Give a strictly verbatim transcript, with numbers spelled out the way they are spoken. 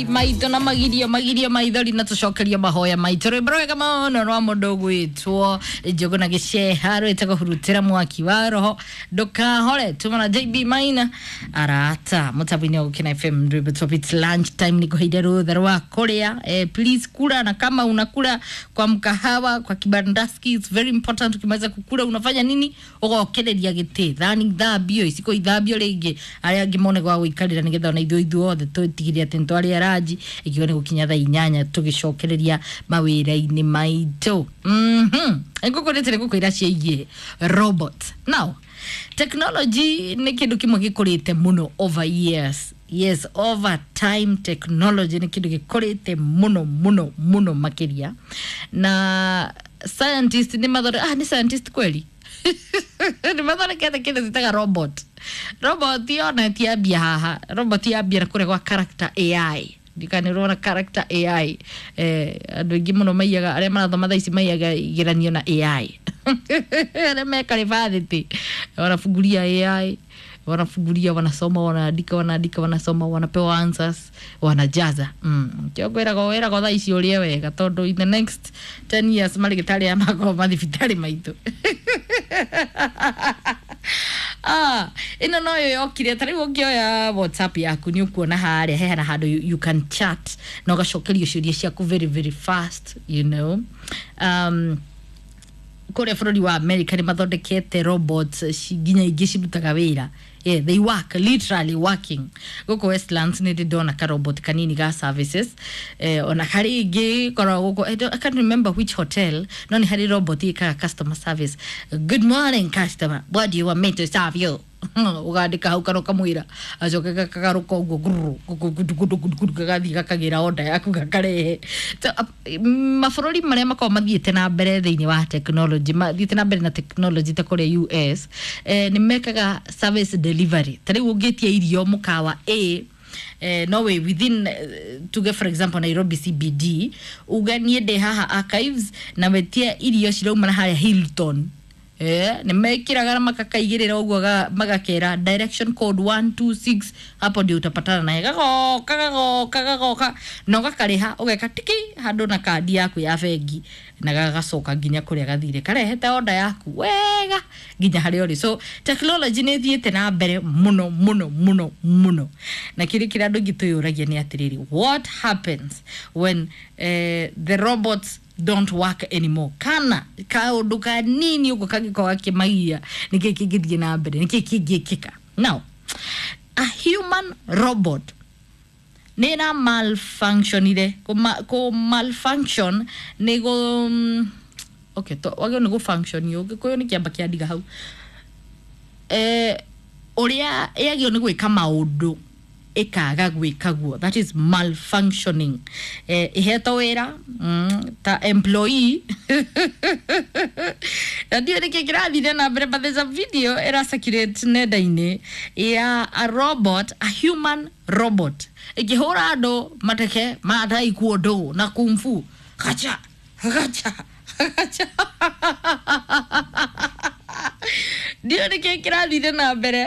Maitå na magirio magirio maithori na tũcokerio mahoya maitũ. Rwĩmbo rwega mũno rwa mũndũ ũgwĩtwo Njũgũ na Gĩceha rwĩtagwo Hurutĩra Mwaki wa Roho Ndũkahore, tuma na J B Maina arata mũtambo-inĩ wa Gũkena F M. Rwĩmbo top. It's lunch time, nĩ kũheire rũtha rwa kũrĩa. eh, please kula, na kama unakula kwa mkahawa, kwa kibandaski, it's very important. Ukimaliza kukula unafanya nini? Ũgokereria gĩtĩ, thani ithambio, iciko ithambio rĩngĩ, arĩa angĩ mone gwa gũikarĩra, nĩgetha ona ithuĩ ithuothe twĩtigĩre atĩ nĩtwarĩa ranji ikiuga nĩ gũkinya thaa inyanya tũgĩcokereria mawĩra-inĩ maitũ. mhm ngũkũrĩte nĩ gũkwĩra ciĩgiĩ robot. Now, technology nĩ kĩndũ kĩmwe gĩkũrĩte mũno over years. Yes, over time technology nĩ kĩndũ gĩkũrĩte mũno mũno mũno makĩria, na scientist nĩ mathore, ah, nĩ scientist kweli nĩ mathondekete kĩndũ citaga robot. Robot yona tiambia haha, robot yambia na kũrĩa gwa Character A I. Ndikana ũrona Character A I, eh, andũ aingĩ mũno maiyaga, arĩa marathoma thaa ici maiyaga igeranio na A I, arĩa meka rĩbathĩtĩ wanafungulia A I, wanafungulia, wanasoma, wanaandika, wanaandika, wanasoma, wanapewa answers, wanajaza. mm. Kĩo ngwĩraga wĩragwo thaa ici ũrĩe wega, tondũ in the next ten years marĩgĩtarĩ aya makorwo mathibitarĩ maitũ. Ah, ĩno noyo yokire. Ta rĩu ũngĩoya WhatsApp yaku, nĩ ũkuona harĩa hehana handũ you, you can chat na ũgacokerio ciũria ciaku very very fast you know um, Kũrĩa bũrũri wa America nĩ mathondekete robots ci- nginya ingĩ cirutaga wĩra. Yeah, they work, literally working. Gũkũ Westlands nĩ ndĩ ndona ka robot kanini ga services, eh, ona harĩ ingĩ koragwo gũkũ. I, don't- I can't remember which hotel, no nĩ harĩ robot ĩkaga customer service: "Good morning, customer, what do you want me to serve you?" Ũgandĩka hau kana ũkamwĩra, acoke gakagarũka ũguo gururu, gudu, gudu, gudu, gudu, gagathiĩ gakagĩra onda yaku gakarehe. So, ap- mabũrũri marĩa makoragwo mathiĩte na mbere thĩinĩ wa technology, mathiĩte na mbere na technology ta kũrĩa U S, eh, nĩ mekaga service delivery. Ta rĩu ũngĩtia irio mũkawa A, eh, no way within, eh, tuge for example Nairobi C B D, uga niĩ ndĩ haha Archives na wetie irio cirauma na harĩa Hilton, eh, nĩ mekĩraga na makakaigĩrĩra ũguo, ga- magakera direction code one two six, hapo ndio utapatana naye. Gagoka, gagoka, gagoka na ũgakarĩha, ũgeka tiki handũ na kandi yaku ya bengi, na gagacoka nginya kũrĩa gathire karehete oda yaku wega nginya harĩa ũrĩ. So technology nĩ ĩthiĩte na mbere mũno mũno mũno mũno, na kĩrĩ kĩrĩa andũ aingĩ twĩyũragia nĩ atĩrĩrĩ, what happens when eh, the robots don't work anymore, kana kaũndũ kanini ũguo kangĩkorwo gakĩmagia, nĩkĩ kĩngĩthiĩ na mbere, nĩkĩ kĩngĩkĩka? Now, a human robot nĩ ĩra malfunctionire. Kũ malfunction nĩ gũ mm, okay, to wagĩrĩirwo nĩ gũ function, ũgĩkũyũ nĩ kĩamba kĩandiga hau, eh, ũrĩa yagĩrĩirwo nĩ gwĩka maũndũ ĩkaga gwĩka guo, that is malfunctioning. eh, ĩhetwo wĩra mm, ta employee, na ndiũĩ nĩkĩ kĩrathire na mbere, but there's a video ĩra circulate nenda-inĩ ya a robot, a human robot ĩkĩhũra andũ mateke ma taekwondo na kung fu, gacha gacha gacha. Ndiũĩ nĩkĩ kĩrathire na mbere.